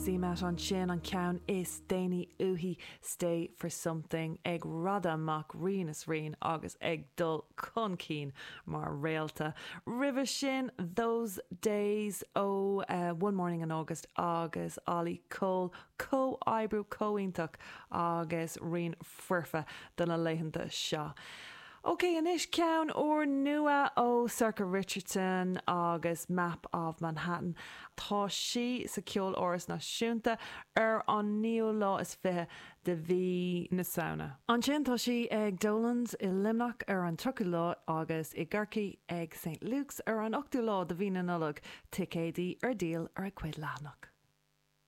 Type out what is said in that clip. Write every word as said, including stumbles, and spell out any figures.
CMAT ansin an ceann is déanaí uaithi Stay for Something ag raideadh amach rian is rian agus ag dul chun cinn mar réalta. Roimhe sin those days ó uh, One Morning in August agus Olly Cole comhoibriú iontach agus rian foirfe do na laethanta seo. Ok, anois ceann úrnua ó Sorcha Richardson agus Map of Manhattan. Tá sí sa Cheoláras Náisiúnta ar an naoú lá is fiche de mhí na Samhna. Ansin tá sí ag Dolan's i Luimneach ar an tríochadú lá agus i gCorcaigh ag St. Luke's ar an ochtú lá de mhí na Nollag, ticéidí ar díol ar a cuid leathanach.